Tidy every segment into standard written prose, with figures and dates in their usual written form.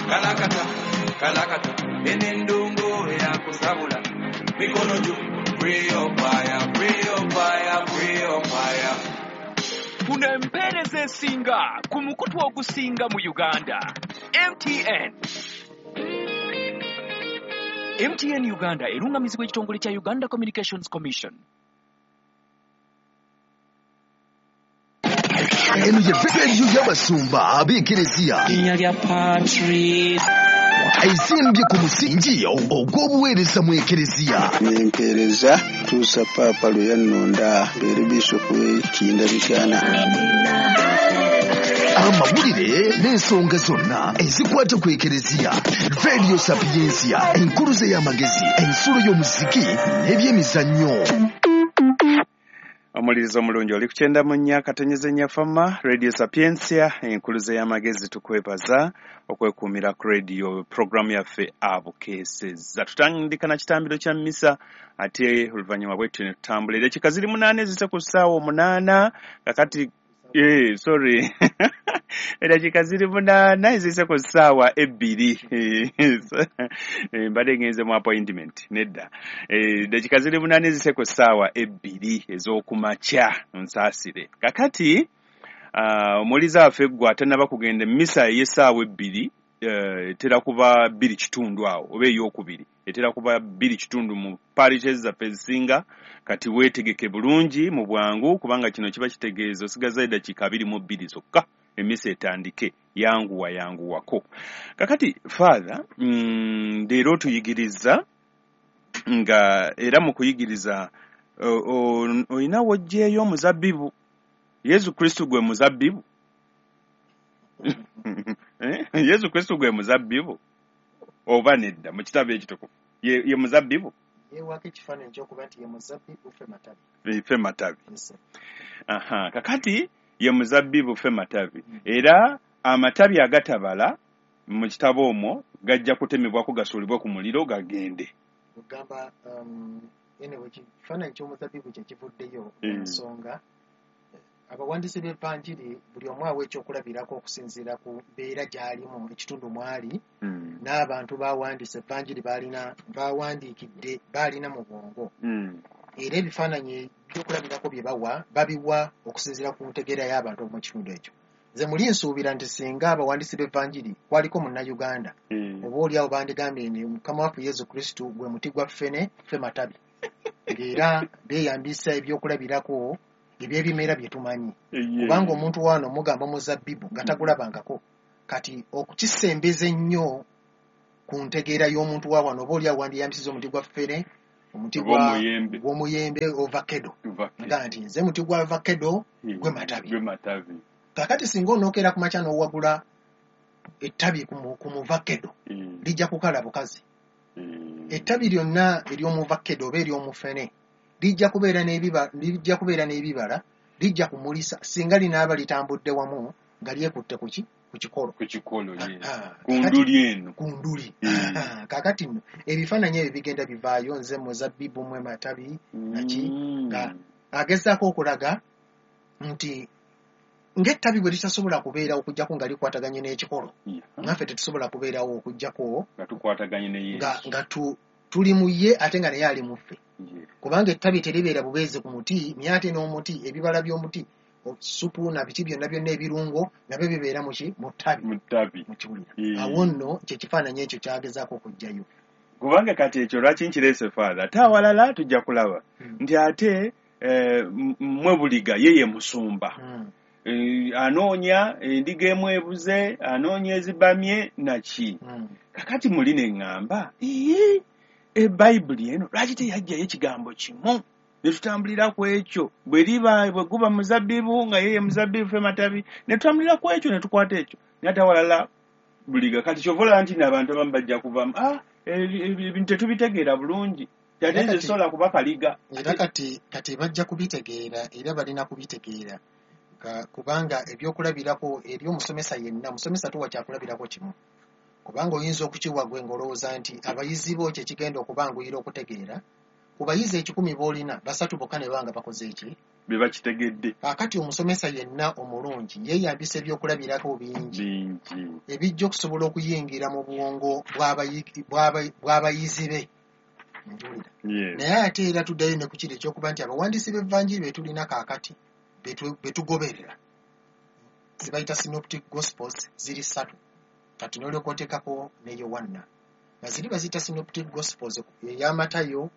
Kalakata, kalakata, enendongo yakusabula. Mikono juu, pray up fire, pray up fire, pray up fire. Kuno empeereza esinga ku mukutu ogusinga mu Uganda, MTN. MTN Uganda erungamizibwa ekitongole kya Uganda Communications Commission. Eno ye rediyo y'abasumba ab'ekereziya. Linnya lya Patri. Ezimbye ku musingi ogw'obuweereza mu ekereziya. Nempeereza tuusa Paapa lwe yannonda mbeere Bisoopu w'e Kiyinda Mityana. Amawulire n'ensonga zonna ezikwata ku ekereziya. Radio Sapientia, enkuluze y'amagezi, ensulo y'omuziki n'ebyemizannyo. Omulirizo omulungi oli ku 94.4 Fama, Radio Sapientia, enkuluze y'amagezi. Tukwebaza okwekuumira ku radio programu yaffe Abukeesezza. Tutandika na kitambiro kya mmisa, ate oluvannyuma bwetyo ne tutambula. Eddakiika ziri 8 ezise ku ssaawa 8 kakati, sorry, eddakiika ziri 8 ezise ku ssaawa 2. Mbadde ngenze mu appointment nedda. Eddakiika ziri 8 ezise ku ssaawa 2 ez'okumakya, nsaasire. Kakati omuwuliza waffe ggwe atannaba kugenda emmisa ey'essaawa 2, etera kuba 2:15 awo, oba ey'okubiri etera kuba 2:15 mu parishes zaffe ezisinga. Kati weetegeke bulungi mu bwangu, kubanga kino kiba kitegeeza osigaza eddakiika 22 zokka emmisa etandike. Yanguwa yanguwako. Kakati Father, leero otuyigiriza nga era mu kuyigiriza olina w'oggyeeyo omuzabbibu. Yesu Kristo gwe muzabbibu. Yesu Kristo gwe muzabbibu oba nedda? Mu kitabo ekitukuvu ye muzabbibu. Yeewako ekifaananyi ky'okuba nti ye muzabbibu, ffe matabi. Ffe matabi. Aha, kakati ye muzabbibu, ffe matabi. Era amatabi agatabala mu kitabo omwo gajja kutemebwako gasuulibwe ku muliro gagende. Ogamba anyway, ekifaananyi ky'omuzabbibu kye kivuddeyo ensonga. Abawandiisi b'Evanjiri buli omu awa ekyokulabirako okusinziira ku mbeera gy'alimu, ekitundu mw'ali, n'abantu bawandiise Evanjiri bawandiikidde baalina mu bwongo. Era ebifaananyi ebyokulabirako bye bawa babiwa okusinziira ku ntegeera y'abantu mu kitundu ekyo. Nze muli nsuubira nti singa abawandiisi b'Evanjiri kwaliko Munnayuganda, oba oli awo bandigambye nti Mukama waffe Yesu Kristo gwe muti gwa ffene, ffe matabi. Ng'era beeyambisa ebyokulabirako eby'ebimera bye tumanyi. Kubanga omuntu wano omugamba omuzabbibu nga tagulabangako. Kati okukisembeza ennyo ku ntegeera y'omuntu wa wano, oba oli awo wandiyambisiza omuti gwa ffene, omuti gw'omuyembe ovakedo. Nga nti nze muti gwa vakedo gwe matabi. Gwe matabi. Kakati singa onookera ku makya n'owagula ettabi ku muvakedo, lijja kukala bukazi. Ettabi lyonna ery'omuvakedo oba ery'omufene lijja kubeera n'ebibala, lijja kumulisa singa linaaba litambudde wamu nga lyekutte ku ki? Ku kikolo. Ku kikolo, ku nduli eno. Ku nduli. Kaakati nno ebifaananyi ebyo bigenda bivaayo, nze muzabbibu mwe matabi naki, nga agezaako okulaga nti ng'ettabi bwe litasobola kubeerawo okuggyako nga likwataganye n'ekikolo, naffe tetusobola kubeerawo okuggyako nga tukwataganye ne Yesu, nga tuli mu ye ate nga naye ali mu ffe. Kubanga ettabi teribeera bubeezi ku muti, naye ate n'omuti, ebibala by'omuti, supu na biki byonna byonna ebirungo nabyo bibeera mu ki? Mu ttabi. Mu ttabi. Mukiwulira. Awo nno kye kifaananyi ekyo kyagezaako okuggyayo. Kubanga kati ekyo lwaki nkireese Father? Ate awalala tujja kulaba nti ate mmwe buliga ye ye musumba. Anoonya endiga emu ebuze, anoonya ezibamye naki. Kakati muli ne ŋŋamba, Bayibuli eno lwaki teyajjayo ekigambo kimu ne tutambulira ku ekyo? Bwe liba bwe guba muzabbibu nga ye ye muzabbibu ffe matabi, ne tutambulira ku ekyo ne tukwata ekyo. Naye ate awalala buliga. Kati kyova olaba nti n'abantu abamu bajja kuvamu, ebintu tetubitegeera bulungi. Ate nze sobola kuba kaliga. Era kati bajja kubitegeera, era balina kubitegeera. Kubanga ebyokulabirako eri omusomesa yenna, omusomesa tuwa kyakulabirako kimu. Kubanga oyinza okukiwa gwe ng'olowooza nti abayizi bo kye kigenda okubanguyira okutegeera, Ku bayizi 100 b'olina, 3 bokka ne banga bakoze eki? Be bakitegedde. Kaakati omusomesa yenna omulungi yeeyambisa ebyokulabirako bingi ebijja okusobola okuyingira mu bwongo bw'abayizi be. Njuulira. Naye ate era tuddayo ne ku kiri ekyokuba nti abawandiisi b'Evanjiri be tulina kaakati be tugoberera zibayita synoptic gospels, ziri 3. Kati n'olyoka oteekako ne Yowanna, nga ziri baziyita synoptic gospels, eya Matayo,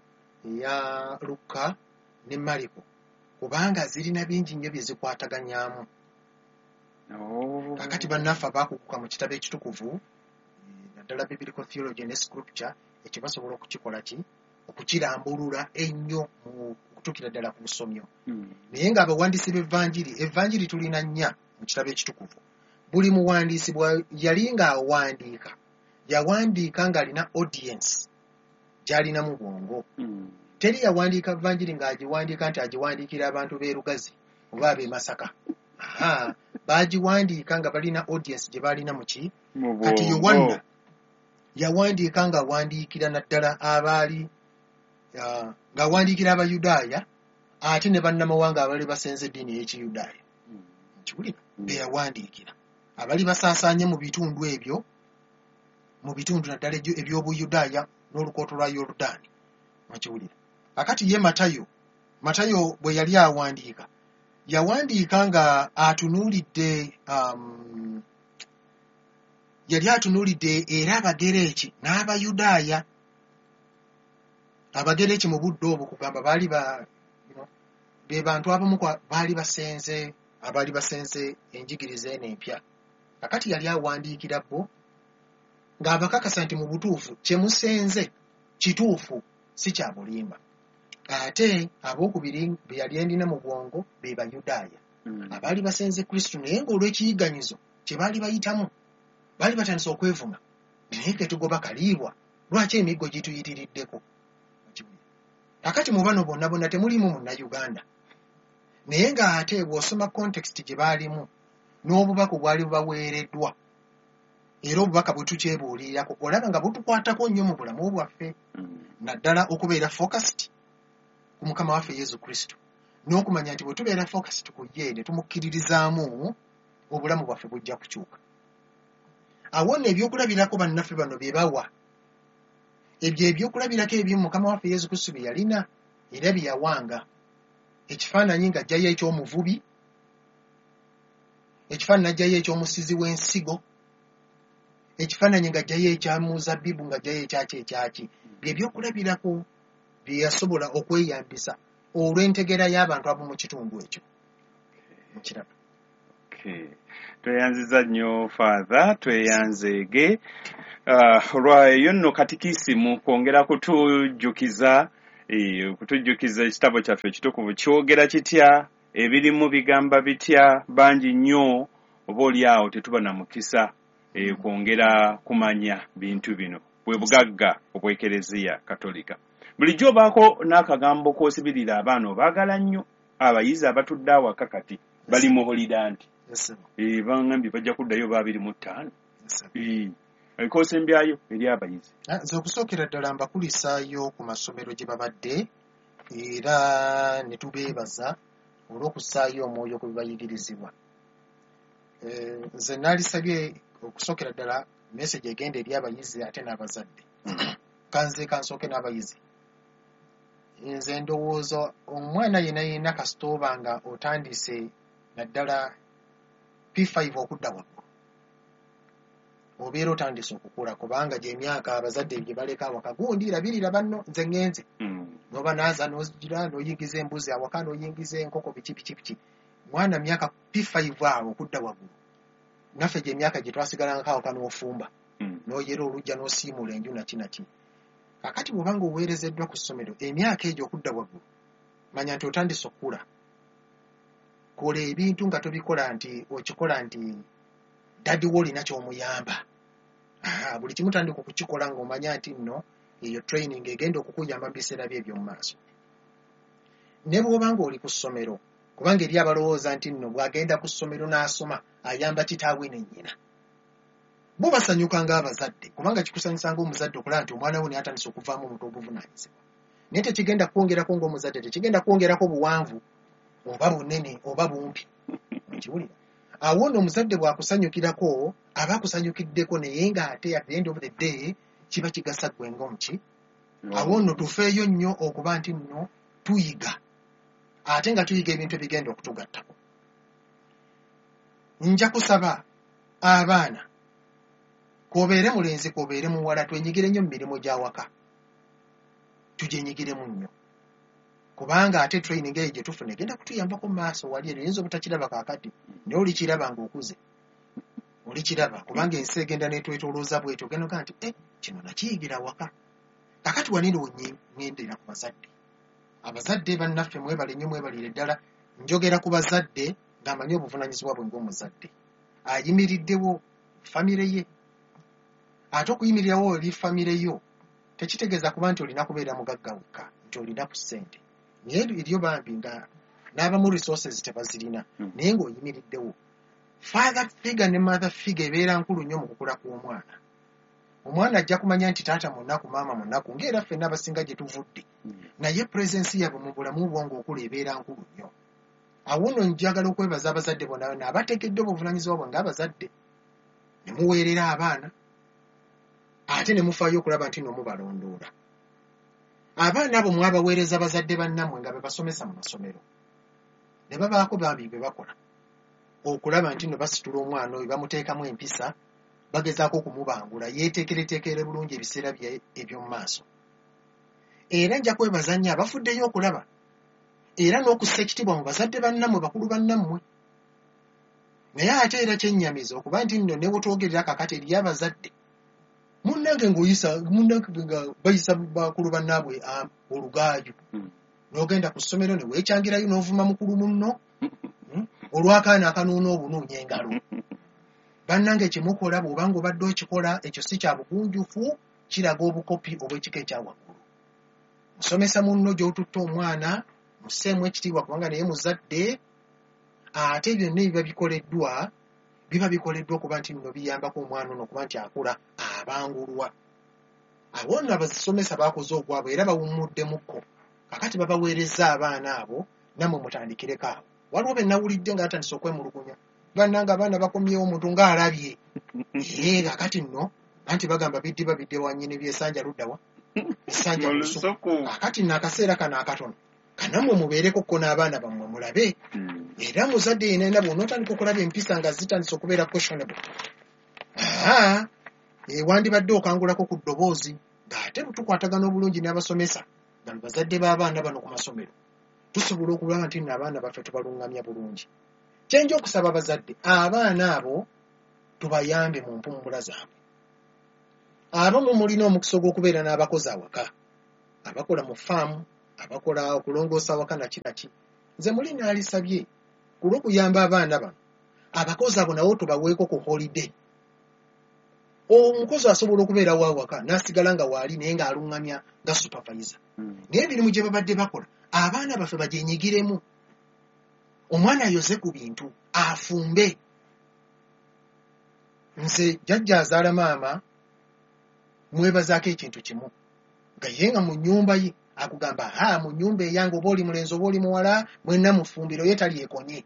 eya Lukka ne Mariko, kubanga zirina bingi nnyo bye zikwataganyaamu. Kaakati bannaffe abaakuguka mu kitabo ekitukuvu, naddala biblical theology ne scripture, ekyo basobola okukikola ki? Okukirambulula ennyo mu kutuukira ddala ku busomyo. Naye ng'abawandiisi b'Evanjiri, Evanjiri tulina 4 mu kitabo ekitukuvu. Buli muwandiisi bwe yali ng'awandiika, yawandiika ng'alina audience gy'alina mu bwongo. Teri yawandiika Vanjiri ng'agiwandiika nti agiwandiikira abantu b'e Lugazi oba ab'e Masaka. Aha, baagiwandiika nga balina audience gye balina mu ki? Kati Yowanna yawandiika ng'awandiikira naddala abaali ng'awandiikira Abayudaaya ate ne bannamawanga abaali basenze eddiini ey'Ekiyudaaya. Nkiwulira? Be yawandiikira. Abali basaasaanye mu bitundu ebyo, mu bitundu naddala eby'Obuyudaaya n'olukooto lwa Yorudaani. Nkiwulira? Akati ye Matayo, Matayo bwe yali awandiika, yawandiika nga atunuulidde yali atunuulidde era Abagereeki n'Abayudaaya. Abagereeki mu budde obwo kugamba baali be bantu abamu baali basenze, abaali basenze enjigiriza eno empya. Kakati yali awandiikira bo ng'abakakasa nti mu butuufu kye musenze kituufu, si kya bulimba. Ate abookubiri be yali endina mu bwongo be Bayudaaya abaali basenze Kristo, naye ng'olw'ekiyiganyizo kye baali bayitamu baali batandise okwevuma, naye ke tugoba kaliibwa, lwaki emiggo gituyitiriddeko? Kakati mu bano bonna bonna temulimu Munnayuganda, naye ng'ate bw'osoma context gye baalimu n'obubaka obwali bubaweereddwa, era obubaka bwe tukyebuulirako olaba nga butukwatako nnyo mu bulamu bwaffe, naddala okubeera focused ku Mukama waffe Yesu Kristo, n'okumanya nti bwe tubeera focused ku ye ne tumukkiririzaamu, obulamu bwaffe bujja kukyuka. Awo nno ebyokulabirako bannaffe bano bye bawa, ebyo ebyokulabirako ebimu Mukama waffe Yesu Kristo bye yalina era bye yawanga. Ekifaananyi ng'aggyayo eky'omuvubi, ekifaananyi aggyayo eky'omusizi w'ensigo, ekifaananyi ng'aggyayo ekya muzabbibu, ng'aggyayo ekyaki ekyaki. Bye byokulabirako bye yasobola okweyambisa olw'entegeera y'abantu ab'omu kitundu ekyo. Mukiraba? Tweyanziza nnyo Father, tweyanzeege olwayo nno katikisimu kwongera kutujjukiza ekitabo kyaffe ekitukuvu kyogera kitya, ebirimu bigamba bitya. Bangi nnyo oba oli awo tetuba na mukisa kwongera kumanya bintu bino, bwe bugagga obw'Ekereziya Katolika. Bulijjo obaako n'akagambo k'osibirira abaana obaagala nnyo, abayizi abatudde awaka kati bali mu holiday nti bangambye bajja kuddayo 25. Ekosembyayo eri abayizi. Nze okusookera ddala mbakulisaayo ku masomero gye babadde era ne tubeebaza olw'okussaayo omwoyo ku bibayigirizibwa. Nze naalisabye okusookera ddala message egenda eri abayizi ate n'abazadde. Kanze kansooke n'abayizi. Nze ndowooza omwana yenna yenna kasita oba nga otandise naddala P5 okudda waggulu, obeera otandise okukula, kubanga gy'emyaka abazadde gye baleka awaka, gundi labirira banno nze ŋŋenze. N'oba naaza n'ogira n'oyingiza embuzi awaka n'oyingiza enkoko biki biki biki. Mwana myaka P5 awo okudda waggulu, naffe gy'emyaka gye twasigalangako awaka n'ofumba, n'oyera olujja n'osiimuula enju naki naki. Kakati bw'oba ng'oweerezeddwa ku ssomero emyaka egyo okudda waggulu, manya nti otandise okukula. Kola ebintu nga tobikola nti okikola nti daddy wo olina ky'omuyamba. Buli kimu tandika okukikola ng'omanya nti nno eyo training egenda okukuyamba mu biseera bye eby'omu maaso. Ne bw'oba ng'oli ku ssomero, kubanga eri abalowooza nti nno bw'agenda ku ssomero n'asoma ayamba kitaawe ne nnyina. Bo basanyuka ng'abazadde, kubanga kikusanyusa ng'omuzadde okulaba nti omwana wo naye atandise okuvaamu omuntu obuvunaanyizibwa. Naye tekigenda kwongerako ng'omuzadde, tekigenda kwongerako buwanvu oba bunene oba bumpi. Okiwulira? Awo nno omuzadde bw'akusanyukirako aba akusanyukiddeko, naye ng'ate at the end of the day kiba kigasa ggwe ng'omuki. Awo nno tufeeyo nnyo okuba nti nno tuyiga, ate nga tuyiga ebintu ebigenda okutugattako. Nja kusaba abaana, k'obeere mulenzi k'obeere muwala, twenyigire nnyo mu mirimu gy'awaka, tugyenyigiremu nnyo, kubanga ate training eyo gye tufuna egenda kutuyambako mu maaso wali. Ero oyinza obutakiraba kaakati, naye olikiraba ng'okuze, olikiraba, kubanga ensi egenda n'etwetoolooza bwetyo, ogenda ogaa nti eh, kino nakiyigira waka. Kakati wanino ŋŋendera ku bazadde. Abazadde bannaffe, mwebale nnyo, mwebalire ddala. Njogera ku bazadde ng'amanyi obuvunaanyizibwa bwe ng'omuzadde ayimiriddewo famire ye. Ate okuyimirirawo eri famire yo tekitegeeza kuba nti olina kubeera mugagga wekka, nti olina ku ssente, naye eriyo bambi nga n'abamu resources tebazirina, naye ng'oyimiriddewo. Father figure ne mother figure ebeera nkulu nnyo mu kukula kw'omwana. Omwana ajja kumanya nti taata munaku, maama munaku, ng'era ffenna abasinga gye tuvudde, naye presence yaabwe mu bulamu bwo ng'okula ebeera nkulu nnyo. Awo nno njagala okwebaza abazadde bonna bonna abateekeddwa obuvunaanyizibwa bwe ng'abazadde, ne muweerera abaana, ate ne mufaayo okulaba nti nno mubalondoola. Abaana abo mwabaweereza bazadde bannammwe nga be basomesa mu masomero, ne babaako bambi bye bakola okulaba nti nno basitula omwana oyo, bamuteekamu empisa, bagezaako okumubangula yeeteekereteekere bulungi ebiseera bye eby'omu maaso. Era nja kwebaza nnyo abafuddeyo okulaba era n'okussa ekitiibwa mu bazadde bannammwe, bakulu bannammwe. Naye ate era kyennyamiza okuba nti nno ne wetwogerera kakati eriyo abazadde munnange ng'oyisa munnange nga bayisa bakulu bannaabwe olugaayu, n'ogenda ku ssomero ne weekyangirayo n'ovuma mukulu munno olw'akaana akanuuna obunuunya engalo. Bannange, kyemukola bw'oba ng'obadde okikola ekyo si kya bugunjufu, kiraga obukopi obw'ekika ekya waggulu. Musomesa munno gy'otutte omwana, musseemu ekitiibwa, kubanga naye muzadde. Ate byonna ebiba bikoleddwa biba bikoleddwa okuba nti nno biyambako omwana ono okuba nti akula abangulwa. Awo nno abasomesa bakoze ogwabwe era bawummuddemukko. Kakati babaweereza abaana abo, nammwe mutandikireko awo. Waliwo be nawulidde nga batandise okwemulugunya, bannange abaana bakomyewo omuntu ng'alabye. Ee, kakati nno anti bagamba biddiba bidde wa nnyini, byesanja luddawa esanja mu mu lusuku. Lusuku. Kakati nno akaseera kano akatono kanammwe mubeereko ko n'abaana bammwe mulabe. Era muzadde yenna bw'onootandika okulaba empisa nga zitandise okubeera questionable, aa wandibadde okangulako ku ddoboozi, ng'ate tukwatagana obulungi n'abasomesa nga be bazadde b'abaana bano ku masomero, tusobola okulaba nti nno abaana baffe tubaluŋŋamya bulungi. Kyenja okusaba abazadde, abaana abo tubayambe mu mpummula zaabwe. Abamu mulina omukisa ogw'okubeera n'abakozi awaka, abakola mu faamu, abakola okulongoosa awaka naki naki. Nze muli naalisabye ku lw'okuyamba abaana bano, abakozi abo nabo tubaweeko ku holiday. Omukozi asobola okubeerawo awaka n'asigala nga waali, naye ng'aluŋŋamya nga supervisor, naye emirimu gye babadde bakola abaana baffe bagyenyigiremu. Omwana ayoze ku bintu, afumbe. Nze jjajja azaala maama mwebazaako ekintu kimu, nga ye nga mu nnyumba ye akugamba, ha, mu nnyumba eyange oba oli mulenzi oba oli muwala mwenna mufumbiro, ye talyekonye.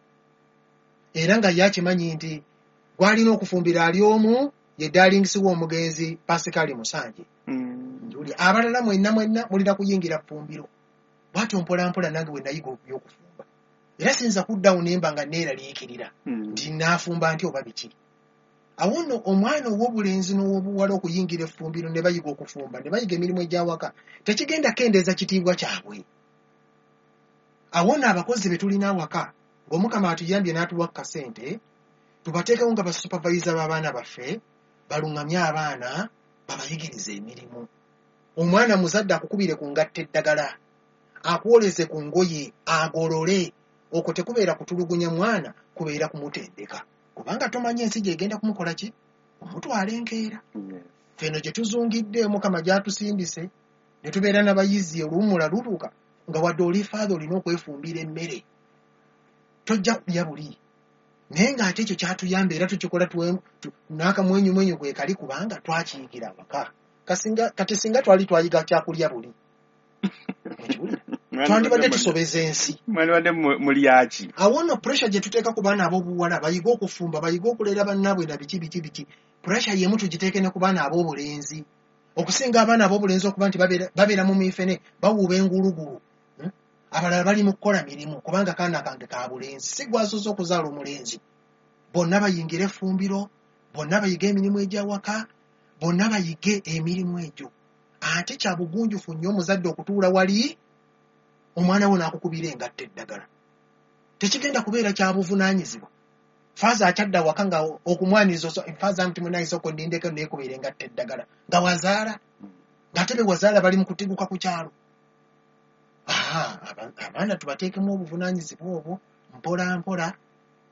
Era nga ye akimanyi nti gwalina okufumbira ali omu, ye darlingsi we omugenzi Pasikaali Musanje. Njuli abalala mwenna mwenna mulina kuyingira ffumbiro. Bwatyo mpola mpola nange bwe nayiga ebyokufumba, era siyinza kuddawo nemba nga neeraliikirira nti naafumba nti oba biki. Awo nno omwana ow'obulenzi n'ow'obuwala okuyingira effumbiro ne bayiga okufumba ne bayiga emirimu egy'awaka tekigenda kendeeza kitiibwa kyabwe. Awo nno abakozi be tulina awaka, ng'Omukama atuyambye n'atuwa ku kasente, tubateekewo nga basupervisor b'abaana baffe, baluŋŋamye abaana, babayigirize emirimu. Omwana muzadde akukubire ku ngatta eddagala, akwoleze ku ngoye, agolole. Okwo tekubeera kutulugunya mwana, kubeera kumutendeka, kubanga tomanyi ensi gy'egenda kumukola ki, kumutwala enkeera. Feno gye tuzungidde, Omukama gy'atusindise ne tubeera n'abayizi, oluwummula lutuuka nga wadde oli father olina okwefumbira emmere, tojja kulya buli. Naye ng'ate ekyo kyatuyamba era tukikola n'akamwenyumwenyu kwe kali, kubanga twakiyigira awaka. Kasinga, kati singa twali twayiga kyakulya buli. Okiwulira? Twandibadde tusobeza ensi. Mwandibadde mulyaki? Awo nno pressure gye tuteeka ku baana ab'obuwala bayige okufumba, bayige okulera bannaabwe na biki biki biki, pressure y'emu tugiteeke ne ku baana ab'obulenzi. Okusinga abaana ab'obulenzi okuba nti babeera mu mifene, bawuuba engulugulu, Abalala bali mu kukola mirimu kubanga kaana kange ka bulenzi, si gwasoose okuzaala omulenzi. Bonna bayingire effumbiro, bonna bayige emirimu egy'awaka, bonna bayige emirimu egyo. Ate kya bugunjufu nnyo omuzadde okutuula wali omwana wo n'akukubira engatto eddagala. Tekigenda kubeera kya buvunaanyizibwa. Faaza akyadde awaka nga okumwaniriza faaza nti munnange sooka onnindeko neekubira engatto eddagala nga wazaala, ng'ate be wazaala bali mu kutiguka ku kyalo. Abaana tubateekemu obuvunaanyizibwa obwo mpola mpola.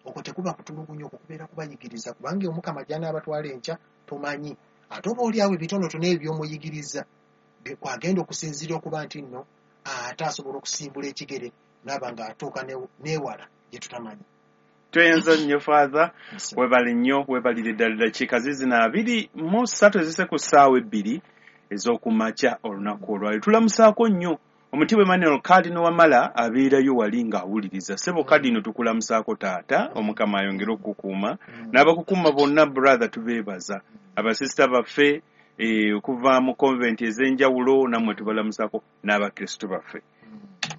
Okwo tekuba kutulugunya, okwo kubeera kubayigiriza, kubanga Omukama gy'anaabatwala enkya tomanyi. Ate oba oli awo ebitonotono ebyo by'omuyigiriza kwagenda okusinziira okuba nti nno ate asobola okusimbula ekigere n'aba ng'atuuka n'ewala gye tutamanyi. Tweyanza nnyo Father, webale nnyo, webalire ddala. Ddakiika zizino 23 ezise ku ssaawa 2 ez'okumakya olunaku olwaleero. Tulamusaako nnyo Omutiibwa Emmanuel Cardinal Wamala abeerayo wali ng'awuliriza. Ssebo Cardinal, tukulamusaako taata, Omukama ayongere okukukuuma n'abakukuuma bonna. Brother, tubeebaza. Abasisita baffe okuva mu convent ez'enjawulo nammwe tubalamusaako, n'abakristu baffe.